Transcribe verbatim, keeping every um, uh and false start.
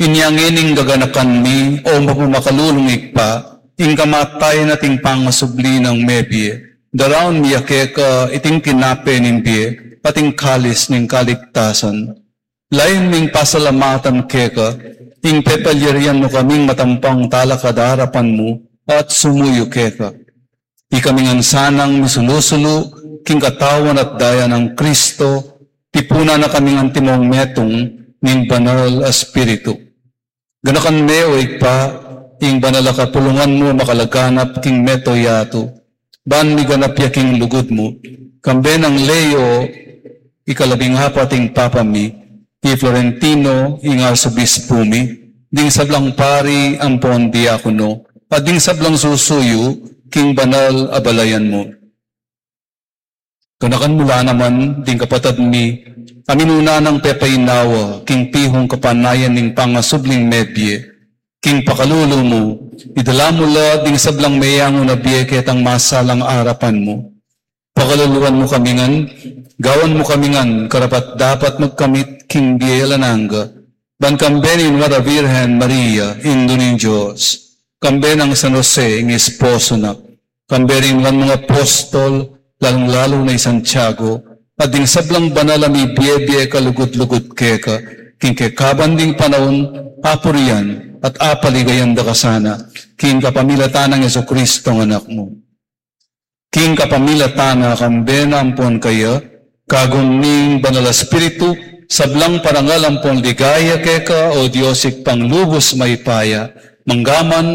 Inya ngeni gaganakan mi, o mapamakalulung Ibpa, ing kamatayan at ing pangasubli nang mebie, daraun mi ya keka iting tinape ning bie, at ing kalis ning kaligtasan. Layun ming pasalamatan keka, ing pepalyarian mu kaming matampang talakad arapan mu, at sumuyu keka. Ikami ngan sanang misulu-sulu king katawan at daya nang Kristo, tipunan na kaming antimong metung ning Banal a Espiritu. Ganakan me, o Ibpa, ing banal a kapulungan mu makalaganap king mabilug a yatu, ban miganap ya king lugud mu, kambe nang Leo ikalabing apat ing Papa mi, i Florentino ing Arsobispu mi, ding sablang pari ampon diakono, at ding sablang susuyu king banal a balayan mu. Ganakan mu la naman ding kapatad mi a minuna nang pepainawa king pihung kapanayan ning pangasubling mebie, king pakalulu mu, idala mu la ding sablang meyangu na bie ketang masalang arapan mu. Pakaluluan mu kami ngan, gawan mu kami ngan karapat-dapat magkamit king bie alang angga, ban kambe ning Nuan a Birhen Maria, Indu ning Dios, kambe nang San Jose, ing esposo na, kambe ring banal mung apostol, lalung-lalu na i Santiago, at ding sablang banal a mibie-bie kalugud-lugud keka, king kekaban ding panaun, apurian at apaligayan da ka sana, king kapamilatan nang Jesucristo a Anak mu. King kapamilatan na, kambe na ampon kaya, kagum ning Banal a Espiritu, sablang parangal ampon ligaya keka, o Dios Ibpang lubus mayupaya, mangga man